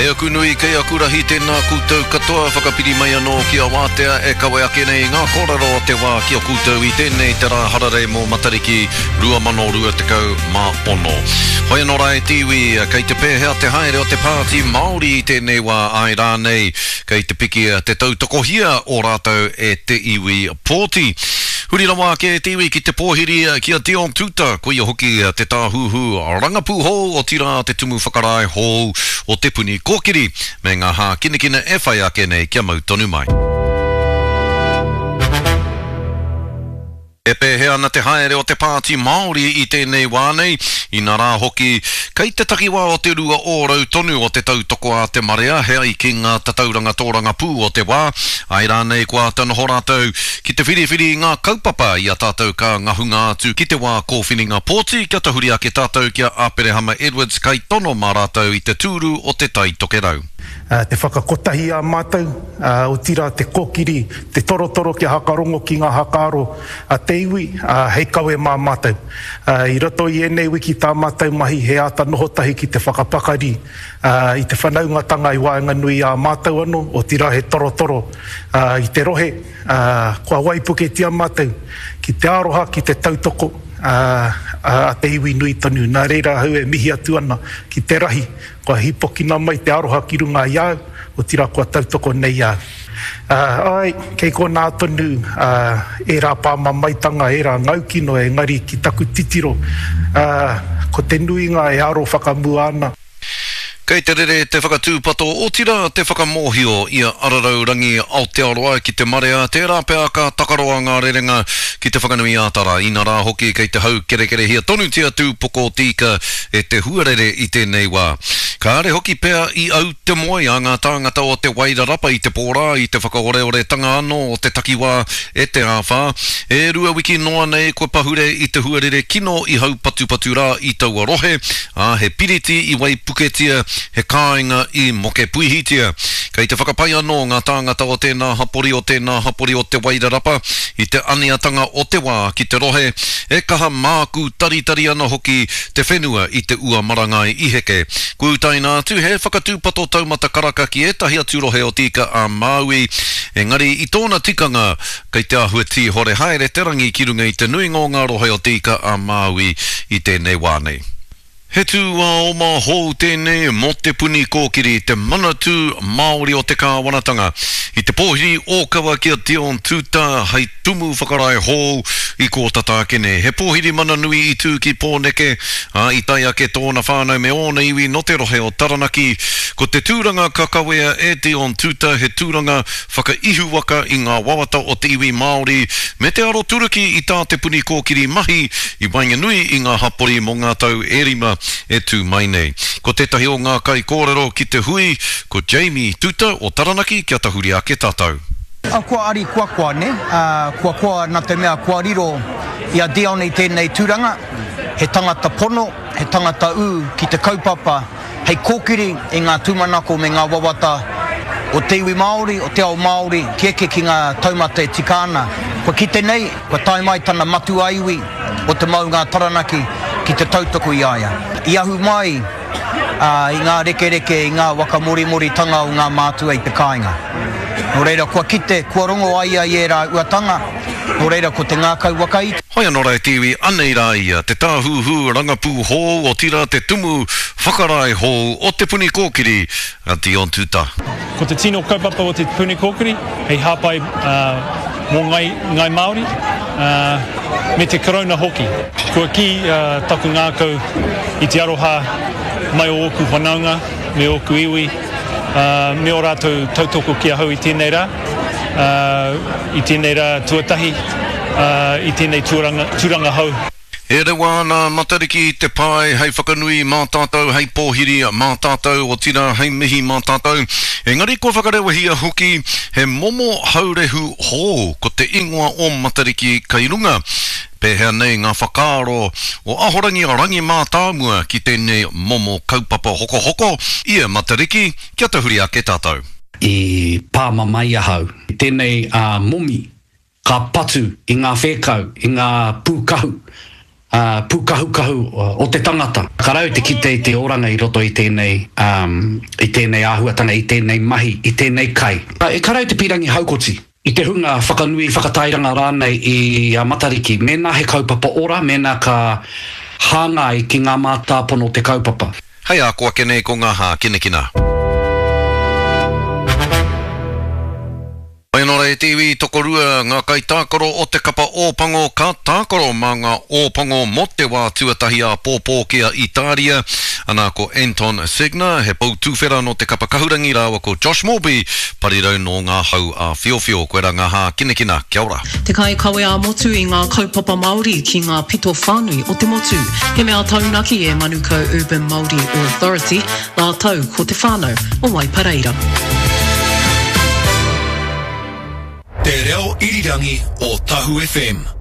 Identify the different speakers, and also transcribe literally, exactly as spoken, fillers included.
Speaker 1: Kei aku nui, kei aku rahi, tēnā koutou katoa, whakapiri mai anō ki a Wātea e kawe ake nei ngā kōrero o te wā ki a koutou i tēnei te rā hararei mō Matariki rua mano rua tekau mā ono. Hoi anō rā e te iwi, kei te pēhea te haere o te Pāti Māori i tēnei wā, āe rānei, kei te piki te tautokohia o rātou e te iwi pōti. Huri rawa ake e te iwi ki te pōhiri ki a Dion Tuuta, koia hoki te tāhuhu rangapū hou, otirā te tumu whakarae hou o Te Puni Kōkiri, me ngā hākinakina e whai ake nei kia mau tonu mai. E pēhea ana te haere o te Pāti Māori i tēnei wā nei, inā rā hoki, kei te takiwā o te rua ōrau tonu o te tautoko a te marea he ai ki ngā tatauranga tōrangapū o te wā, āe rānei kua āta noho rātou ki te whiriwhiri i ngā kaupapa i a tātou ka ngahunga atu ki te wā kōwhiringa pōti kia tahuri ake tātou ki a Aperehama Edwards kaitono mā rātou i te tūru o Te Tai Tokerau.
Speaker 2: Te whakakotahi a mātou, otirā te kōkiri, te torotoro kia hakarongo ki ngā hakaaro a te iwi, hei kawe mā mātou. I roto i ēnei wiki tā mātou mahi he āta noho tahi ki te whakapakari i te whanaungatanga i waenganui i a mātou anō, otirā he torotoro i te rohe, kua waipuketia mātou ki te aroha, ki te tautoko a te iwi nui tonu. Nā reira ahau e mihi atu ana ki te rahi Kua hīpokina mai te aroha ki runga i a au, otirā kua tautoko nei a au. Āe, kei konā tonu ērā pāmamaetanga, ērā ngaukino, engari ki taku titiro, ko te nuinga e aro whakamua ana.
Speaker 1: Kei te rere te whakatūpato, otirā te whakamōhio i a Ararau Rangi Aotearoa ki te marea, tērā pea ka takaroa ngā rerenga ki Te Whanganui-ā-Tara, inarā hoki kei te haukerekerehia tonutia Tūpoko o Te Ika e te huarere i tēnei wā. Kāre hoki pea i au te moe a ngā tāngata o Te Wairarapa i te pō rā i te whakaoreoretanga anō o te takiwā e te āwhā. E rua wiki noa nei kua pahure i te huarere kino i haupatupatu rā i taua rohe, ā, he piriti i waipuketia, he kāinga i mokepuihitia. Kei te whakapai anō ngā tāngata o tēnā hapori, o tēnā hapori o Te Wairarapa i te aneatanga o te wā ki te rohe, e kaha mākūtaritari ana hoki te whenua i te ua marangai i heke. Kua utaina atu he whakatūpato taumata karaka ki ētahi atu rohe o Te Ika-a-Māui, engari i tōna tikanga kei te āhua tīhore haere te rangi ki runga i te nuinga o ngā rohe o Te Ika-a-Māui i tēnei wā nei. He tūāoma hou tēnei mō Te Puni Kōkiri, te Manatū Māori o te Kāwanatanga. I te pōhiri ōkawa ki a Dion Tuuta hei tumu whakarae hou i kō tata ake nei. He pōhiri mana nui i tū ki Pōneke, ā, i tae ake tōna whānau me ōna iwi nō te rohe o Taranaki. Ko te tūranga ka kawea e Dion Tuuta he tūranga whakaihuwaka i ngā wawata o te iwi Māori me te aroturuki i tā Te Puni Kōkiri mahi i waenganui i ngā hapori mō ngā tau e rima e tū mai nei. Ko tētahi o ngā kaikōrero ki te hui, ko Jamie Tuta o Taranaki kia tahuri ake tātou.
Speaker 3: Kua ari kua koa, nē? Kua koa nā te mea kua riro i a Dion i tēnei tūranga, he tangata pono, he tangata ū ki te kaupapa hei kōkiri i ngā tūmanako me ngā wawata o te iwi Māori, o te ao Māori, ki eke ki ngā taumata e tika ana. Kua kite nei, kua tae mai tana matua iwi o te maunga a Taranaki ki te tautoko i a ia. I ahu mai i ngā rekereke, i ngā waka morimoritanga o ngā mātua i te kāinga. Nō reira, kua kite, kua rongo a ia i ērā uatanga, nō reira ko te ngākau wakaiti.
Speaker 1: Hoi anō rā e te iwi, anei rā ia, te tāhuhu rangapū hou, otirā te tumu whakarae hou o Te Puni Kōkiri, a Dion Tuta.
Speaker 4: Ko te tino kaupapa o Te Puni Kōkiri hei hāpai mō Ngāi Māori me te Karauna hoki. Kua kī taku ngākau i te aroha mai o ōku whanaunga me ōku iwi me ō rātou tautoko ki ahau i tēnei rā, i tēnei rā tuatahi, i tēnei tūranga hou.
Speaker 1: E rewa ana a Matariki i te pae hei whakanui mā tātou, hei pōhiri mā tātou, otirā hei mihi mā tātou. Engari kua whakarewahia hoki he momo haurehu hou, ko te ingoa o Matariki kei runga. Pēhea nei ngā whakaaro o Ahorangi Rangi Mātāmua ki tēnei momo kaupapa hokohoko i a Matariki? Kia tahuri ake tātou.
Speaker 5: I pāmamae ahau. Tēnei a momi ka patu i ngā whēkau, i ngā pūkahu, pūkahukahu o te tangata. Ka rau te kite i te oranga i roto i tēnei, um, i tēnei āhuatanga, i tēnei mahi, i tēnei kai. E ka rau te pīrangi haukoti i te hunga whakanui, whakatairanga rānei i a Matariki, mēnā he kaupapa ora, mēnā ka hāngai ki ngā mātāpono o te kaupapa.
Speaker 1: Hei a ko ake nei ko ngā hākinakina. Mai anō rā e te iwi, tokorua ngā kaitākaro o te kapa Ōpango ka tākaro mā ngā Ōpango mō te wā tuatahi āpōpō ki a Itāria. Ana ko Anton Segner, he pou tuwhera nō te kapa Kahurangi rāua ko Josh Morby, parirau nō ngā hau āwhiowhio. Koirā ngā hākinakina. Kia ora.
Speaker 6: Te kaikawe ā-motu i ngā kaupapa Māori ki ngā pito whānui o te motu. He mea taunaki e Manukau Urban Māori Authority rātou ko te whānau o Waipareira.
Speaker 7: Te Reo Irirangi o Tahu FM.